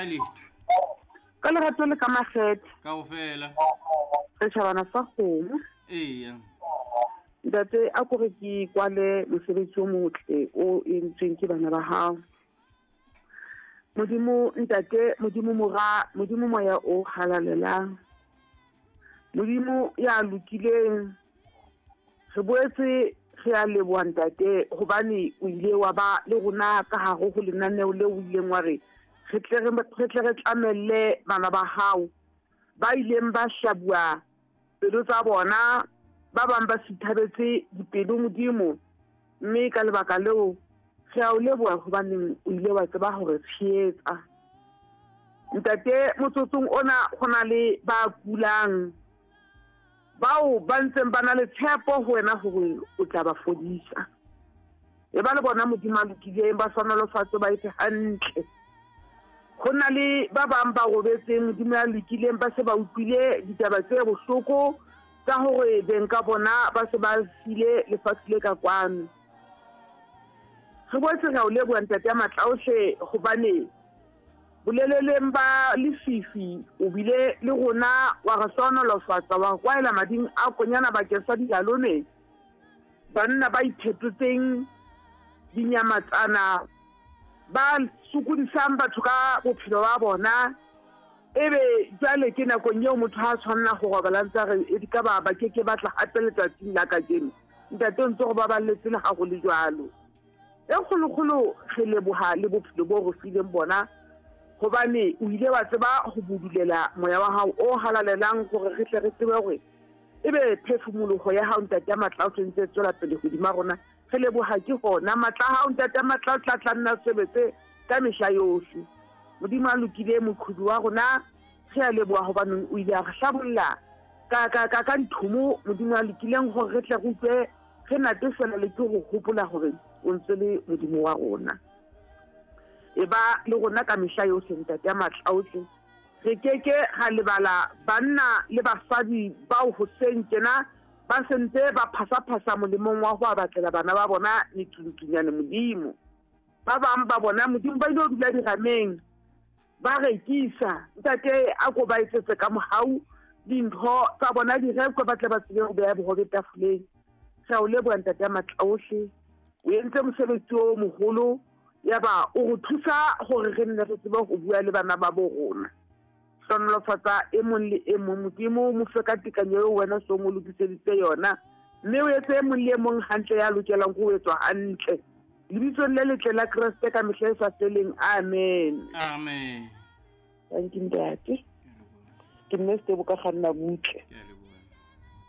A letho. Ka lerato le ka makgethe. Kaofela. Setjhabana sa kgomo. Eya. Ntate a kore ke kwale mosebetsi o motle o entsweng ke bana ba hao. Modimo ntate, Modimo mora, Modimo moya o halalelang. Modimo ya lokileng. Re boetse re a leboha ntate hobane o ile wa ba le rona ka hare ho lenaneo leo o ileng wa re re tle re tle re tlamelle bana ba hao ba ileng ba hlabuwa pelo tsa bona, ba bang ba sithabetse dipelo Modimo, mme ka lebaka leo re a o leboha hobaneng o ile wa tseba hore tshehetsa. Ntate, motsotsong ona go na le ba kulang bao ba ntseng ba na le tshepo ho wena hore o tla ba fodisa. E ba le bona Modimo a lokileng, ba hlohonolofatse, ba etse hantle. Go na le ba bang ba robetseng Modimo ya lokileng, ba se ba utlwile ditaba tse bohloko tsa hore beng ka bona ba se ba sile lefatshe le ka kwano. Re boetse re a o leboha Ntate ya matla ohle, hobane boleleleng ba lefifi o bile le rona, wa re hlohonolofatsa, wa re kwaela mading a konyana bakeng sa dilalome, banna ba iphetotseng dinyamatsana, ba sokodisang batho ka bophelo ba bona. Ebe jwale ke nakong eo motho ha a tshwanela ho robala ntse a re e ka ba ba ke ke batla hape letsatsing la kajeno. Ntate o ntse go baballetse le ha go le jwalo. E kgolokgolo re leboha le bophelo bo re fileng bona, hobane o ile wa tseba ho budulela moya wa hao o halalelang hore re tle re tsebe hore ebe phefumoloho ya hao Ntate ya matla o ntse tswela pele hodima rona. Re leboha ke hona matla a hao Ntate ya matla o tla tla nna sebetse ka mehla yohle. Modimo a lokile moqhubi wa rona, re a leboha hobaneng o ile a re hlabolla ka ka ka ka dithomo Modimo a lokileng hore re tle re utlwe re natefela le ke ho hopola hore o ntse le Modimo wa rona. E ba le rona ka mehla yohle Ntate ya matla ohle. Re ke ke ra lebala banna le basadi bao hoseng tjena ba sentse ba phasa-phasa molemong wa ho a batlela bana ba bona metsuntunyane Modimo. Ba bang ba bona Modimo ba ile ho dula dirameng ba rekisa. Ntate a ko ba etsetse ka mohau dintho tsa bona di rekwe ba tle ba tsebe ho beha bohobe tafoleng. Re a o leboha Ntate ya matla ohle. O entse mosebetsi o moholo, yaba o re thusa hore re nne re tsebe ho bua le bana ba bo rona. Hlohonolofatsa e mong le e mong Modimo, mo fe ka tekanyo eo wena so mo lokiseditse yona, mme o etse e mong le e mong hantle ya lokelang ho etswa hantle. Lebitsong le letle la Kreste ka mehla e sa feleng. Amen. Amen. Thank you, Ntate. Ke mme Setebo ka kganna butle.